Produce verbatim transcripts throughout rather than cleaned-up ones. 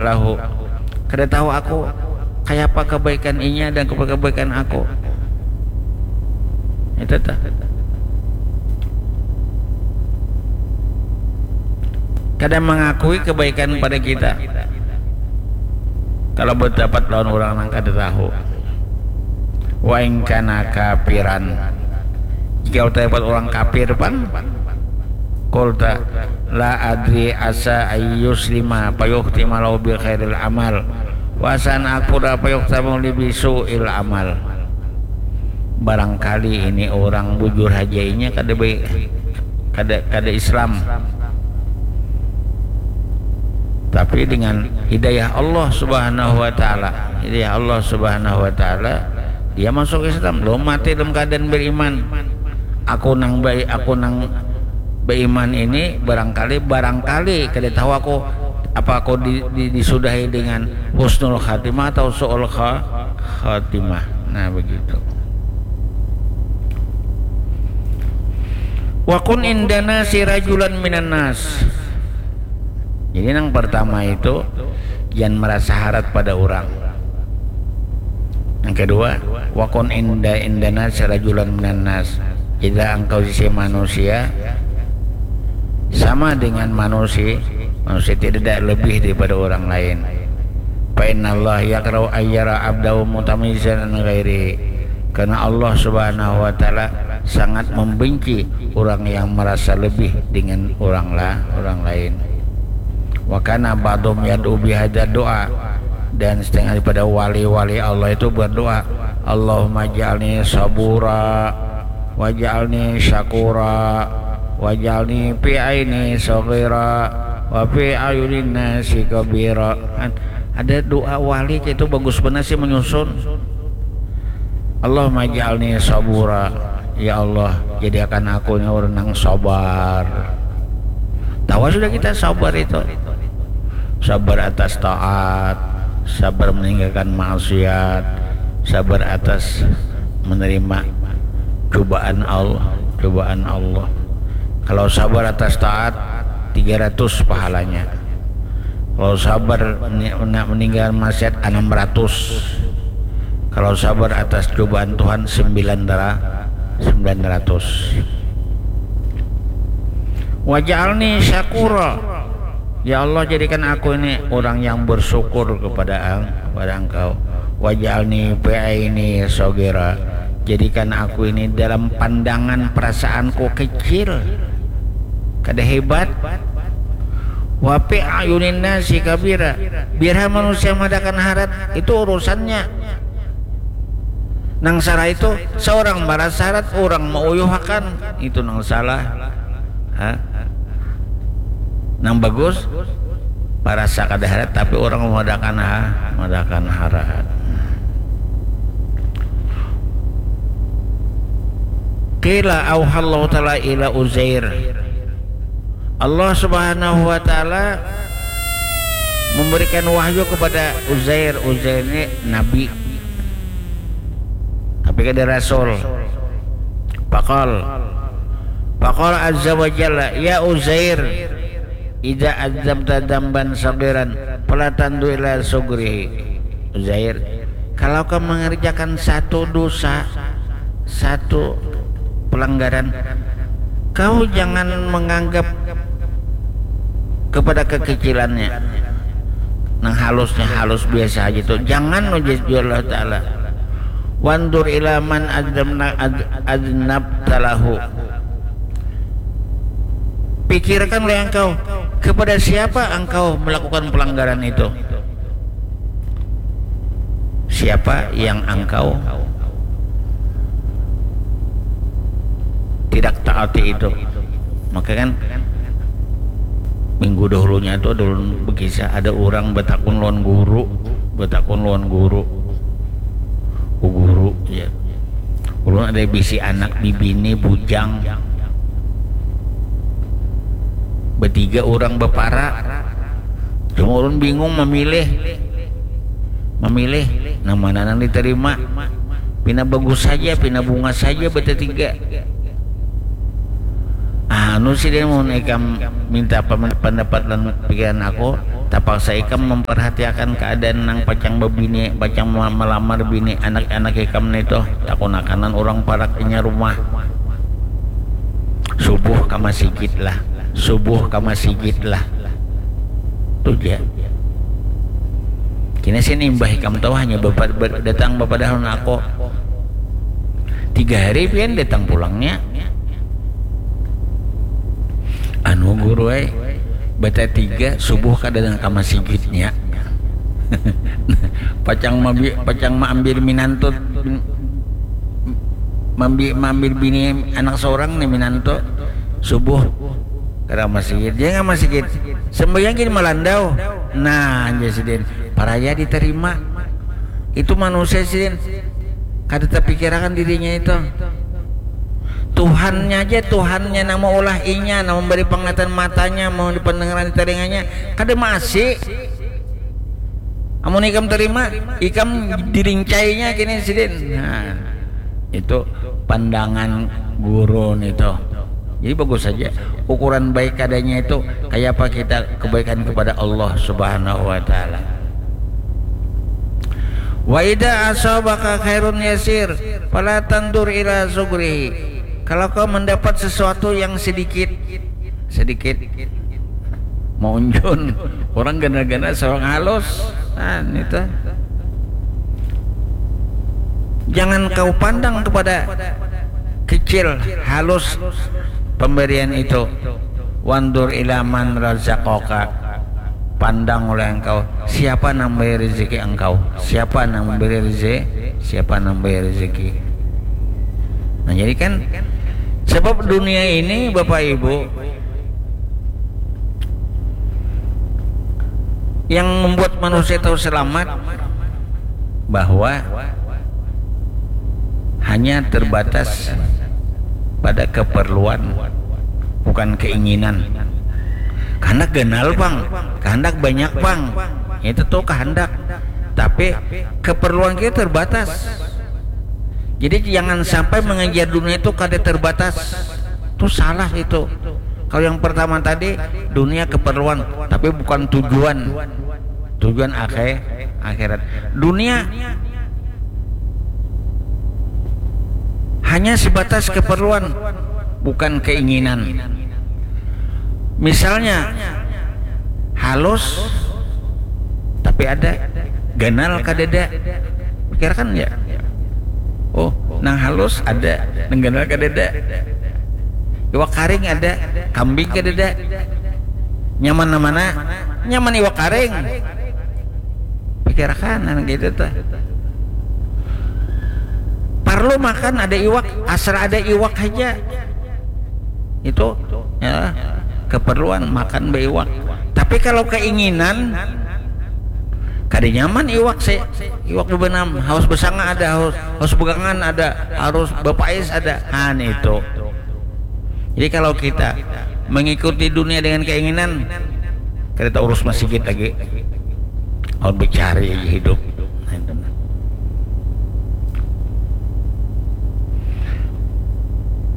lahu. Kada tahu aku kayapa kebaikan inya dan kebaikan aku. Itu tuh. Kada mengakui kebaikan pada kita. Kalau berdapat lawan orang nang kada tahu. Wa in kana kafiran. Jika kita dapat orang kafir pan, qulta la adri asa ayyuslima fayukhtima lahu bi khairil amal. Wa asa an akfura fayukhtima li bi su'il amal. Barangkali ini orang bujur haja inya kada baik, kada kada Islam. Tapi dengan hidayah Allah Subhanahu wa taala, hidayah Allah Subhanahu wa taala, dia masuk Islam, belum mati dalam keadaan beriman. Aku nang baik, aku nang beriman ini barangkali barangkali kada tahu aku apa aku di, di, disudahi dengan husnul khatimah atau su'ul kha, khatimah. Nah, begitu. Wa kun indana sirajulan minan nas. Jadi yang pertama itu jangan merasa harat pada orang. Yang kedua, wa kun inda indana sirajulan minan nas. Jadilah engkau sisi manusia sama dengan manusia, manusia tidak ada lebih daripada orang lain. Fa innallaha yakrahu ayyara abdahu mutamayyizan an ghairihi. Karena Allah Subhanahu wa taala sangat membenci orang yang merasa lebih dengan orang lah orang lain. Wa kana ba'dhum yad'u bihadza du'a, dan setengah daripada wali-wali Allah itu berdoa, Allahumma ja'alni sabura waj'alni syakura waj'alni fi aini saghira wa fi ayunin nasi kabira. Kan ada doa wali itu bagus benar sih menyusun. Allahumma ja'alni sabura. Ya Allah, jadikan aku ini orang yang sabar. Tahu sudah kita sabar itu. Sabar atas taat, sabar meninggalkan maksiat, sabar atas menerima cobaan Allah, cobaan Allah. Kalau sabar atas taat, tiga ratus pahalanya. Kalau sabar ni- nak meninggalkan maksiat, enam ratus. Kalau sabar atas cobaan Tuhan, sembilan dara- sembilan ratus. Waj'alni syakura. Ya Allah, jadikan aku ini orang yang bersyukur kepada ang- kepada Engkau. Waj'alni fi aini saghira. Jadikan aku ini dalam pandangan perasaanku kecil. Kada hebat. Wa fi ayunin nasi kabira. Biar manusia madakan harat, itu urusannya. Nang salah itu seorang marasa harat, orang mauyuhakan, itu nang salah. Ha? Nang bagus, parasa kada harat, tapi orang madakan ha, madakan harat. Qila auhallahu ta'ala ila Uzair. Allah Subhanahu wa taala memberikan wahyu kepada Uzair. Uzair ini nabi. Tapi kada rasul. Faqal. Faqal azza wa jalla, "Ya Uzair, idza adzabta dzamban saghiran, fala tandu ila sugrihi." Uzair, kalau kau mengerjakan satu dosa, satu pelanggaran, kau jangan menganggap kepada kekecilannya. Nang halusnya halus biasa aja tuh. Jangan, ujar Allah Ta'ala. Wandur ila man adzabna- adz- adznabtalahu. Pikirkan oleh engkau, kepada siapa engkau melakukan pelanggaran itu? Siapa yang engkau tidak taati itu? Maka kan minggu dahulunya itu ada ulun berkisah, ada orang betakun lawan guru, betakun lawan guru, "Oh guru," ya, "ulun ada bisi anak bibini bujang, betiga orang bepara, cuma ulun bingung memilih, memilih nang mana nang diterima, pina bagus saja, pina bungas saja betetiga." Anu sidin, mun ikam minta paman- pendapat dan pikiran aku, Tapaksa ikam memperhatiakan keadaan nang pacang bebini, pacang ma-, melamar bini anak-anak ikam nitu, takunakanan urang parak inya rumah. Subuh ka masigit lah, subuh ka masigit lah. Tu ja. Kina sini imbah ikam tahu hanya bapa-, ba-, datang bapadahun aku. Tiga hari pian datang pulangnya. Anu guru ai, bata tiga subuh kada nang ka masigitnya. Pacang mabi-, pacang maambil minantu, mambi-, maambil bini anak seorang nih minantu subuh kada masigit, jangan masigit sembahyang gini malandau. Nah, anja sidin paraya diterima. Itu manusia sidin kada terpikirakan dirinya itu. Tuhannya aja, Tuhannya nang maulah inya, nang memberi penglihatan matanya, mau pendengaran di telinganya, kada maasi. Amun ikam terima, ikam dirincainya kini sidin. Nah, itu pandangan guru nitu. Jadi bagus saja ukuran baik adanya itu kayak apa kita kebaikan kepada Allah Subhanahu wa taala. Wa idza asabaka khairun yasir fala tandur ila sugrihi. Kalau kau mendapat sesuatu yang sedikit, sedikit maunjun, orang gana-gana seorang halus, nah itu. Jangan kau pandang kepada kecil, halus pemberian itu. Wandur ilaman razaqaka. Pandang oleh engkau siapa nang memberi rezeki engkau, siapa nang memberi rezeki, siapa nang memberi rezeki. Nah, jadi kan sebab dunia ini Bapak Ibu yang membuat manusia tahu selamat bahwa hanya terbatas pada keperluan, bukan keinginan. Kehendak ganal pang, kehendak banyak pang, itu tuh kehendak. Tapi keperluan kita terbatas. Jadi jangan sampai mengejar dunia itu kada terbatas. Itu salah itu. Kalau yang pertama tadi dunia keperluan, tapi bukan tujuan. Tujuan akhir akhirat. Dunia hanya sebatas keperluan, bukan keinginan. Misalnya halus tapi ada, ganal kadada. Pikirkan ya. Oh, nang halus ada, nang ganal kadada. Iwak karing ada, kambing kadada. Nyaman mana? Nyaman iwak karing. Pikirakan anak itu tuh. Parlu makan ada iwak, asal ada iwak aja. Itu ya keperluan makan beiwak. Tapi kalau keinginan kada nyaman iwak sih. Iwak bebenam, haus besanga ada, haus, haus begangan ada, harus bepais ada. Han itu. Jadi kalau kita mengikuti dunia dengan keinginan, kita urus masjid lagi. Mau bercari hidup.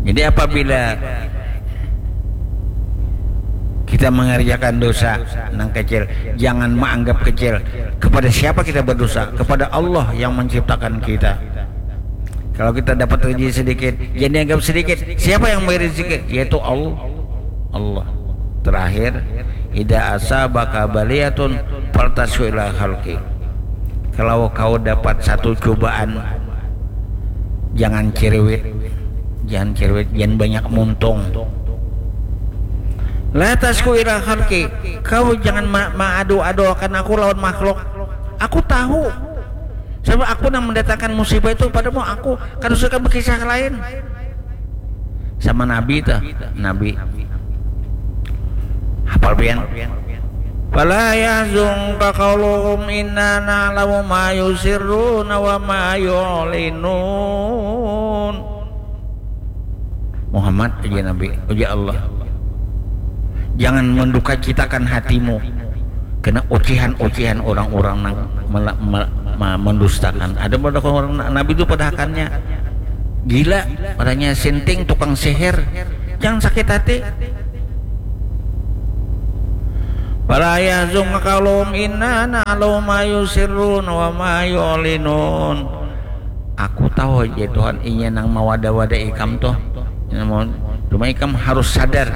Jadi apabila kita mengerjakan dosa nang kecil, jangan menganggap kecil. Kepada siapa kita berdosa? Kepada Allah yang menciptakan kita. Kalau kita dapat rezeki sedikit, jangan dianggap sedikit. Siapa yang memberi rezeki? Yaitu Allah. Allah. Terakhir, idza asabaka baliyatun faltasku ila halki. Kalau kau dapat satu cobaan, jangan cerewet. Jangan cerewet, jangan banyak muntung. La tasku ila halki. Kau jangan ma- maadu-adu akan aku lawan makhluk. Aku tahu. Sebab aku nang mendatangkan musibah itu padamu, aku kada suka berkisah lain. Sama Nabi tuh, Nabi. Hafal pian? Fala yahzunka qauluhum inna na'lamu ma yusirruna wa ma yu'linun. Muhammad, ujar Nabi, ujar Allah, jangan mendukacitakan hatimu kena ocehan-ocehan orang-orang nang mela- me- ma- mendustakan. Ada pada orang na- Nabi itu padahakannya gila, orangnya sinting, tukang sihir. Jangan sakit hati. Fala yahzunka qauluhum inna na'lamu ma yusirrun wa ma yu'linun. Aku tahu aja Tuhan inya nang mawada-wada ikam tuh. Cuma ikam harus sadar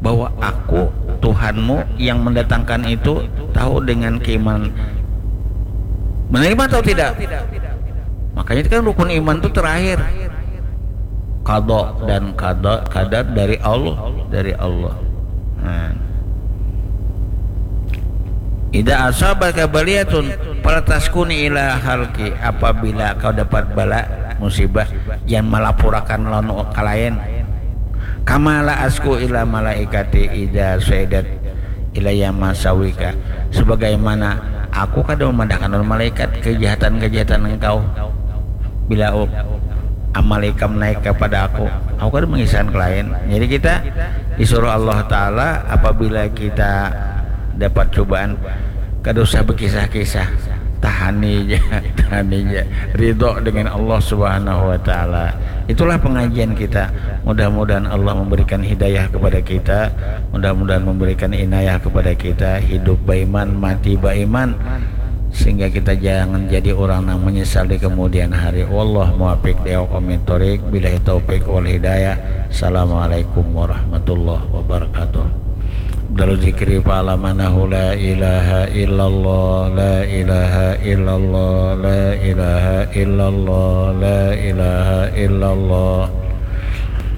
bahwa aku Tuhanmu yang mendatangkan itu tahu dengan keimanan. Menerima atau tidak? Makanya itu kan rukun iman itu terakhir. Qada dan qada, qadar dari Allah, dari Allah. Nah. Ida asabaka baliyatun fala taskuni ila halki, apabila kau dapat bala musibah, jangan malapurakan lawan kalain. Kama la asku ila malaikati ida suedat ilayah masawika, sebagaimana aku kada memandahkan malaikat kejahatan-kejahatan engkau. Bila amal ikam naik kepada aku, aku kada mengisahkan ke lain. Jadi kita disuruh Allah Ta'ala apabila kita dapat cobaan, kada usah berkisah-kisah, tahani aja, tahani aja, ridho dengan Allah Subhanahu wa Ta'ala. Itulah pengajian kita. Mudah-mudahan Allah memberikan hidayah kepada kita, mudah-mudahan memberikan inayah kepada kita, hidup baiman, mati baiman, sehingga kita jangan jadi orang yang menyesal di kemudian hari. Wallah muwafiq ila aqwamit thoriq, billahi taufiq wal hidayah. Assalamualaikum warahmatullahi wabarakatuh. Abdalul zikri fa'lam annahu la ilaha illallah, la ilaha illallah, la ilaha illallah, la ilaha illallah.